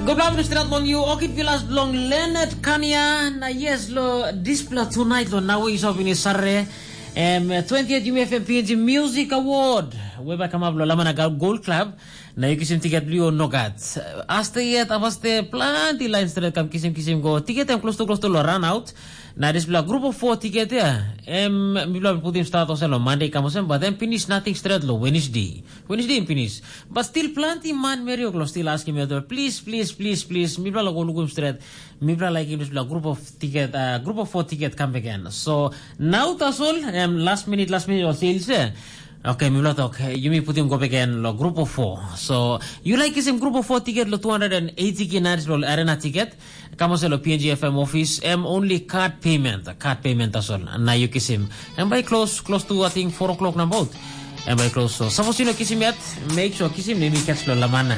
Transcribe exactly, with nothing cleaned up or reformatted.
Gobla strat long you, okit vilas long Leonard Kania. Na yes, lo dispela tonight lo nawe is of ini sare. Em, twentieth U F M P N G Music Award. Weba kamap lo Lamana Gold Club. Na yu kisim tiket bliu nogat. Aste yet, abaste planti lain stret kam kisim kisim go. Tiket em close to close to lo run out. Na dispela group of four tiket ya. Em, mipela putim start olsem lo Monday kam olsem, but then finish nothing stret lo Wednesday. Wednesday em finish. But still planti man meri oklo still askim yet, please, please, please, please, mipela lo go lukim stret. Mipela laikim dispela group of tiket, uh, group of four tiket kam again. So, now tasol, em, last minute, last minute o sales eh. Okay, mipela tok, eh, yumi putim go again lo group of four. So, you like kisim group of four tiket lo two hundred and eighty ki naris lo arena tiket. Kam olsem lo P N G F M office, em only card payment, card payment tasol. Na you kisim. Em by close, close to, I think, four o'clock na boat. Em by close. So, suppose you no kisim yet, make sure kisim, let me catch lo lamana.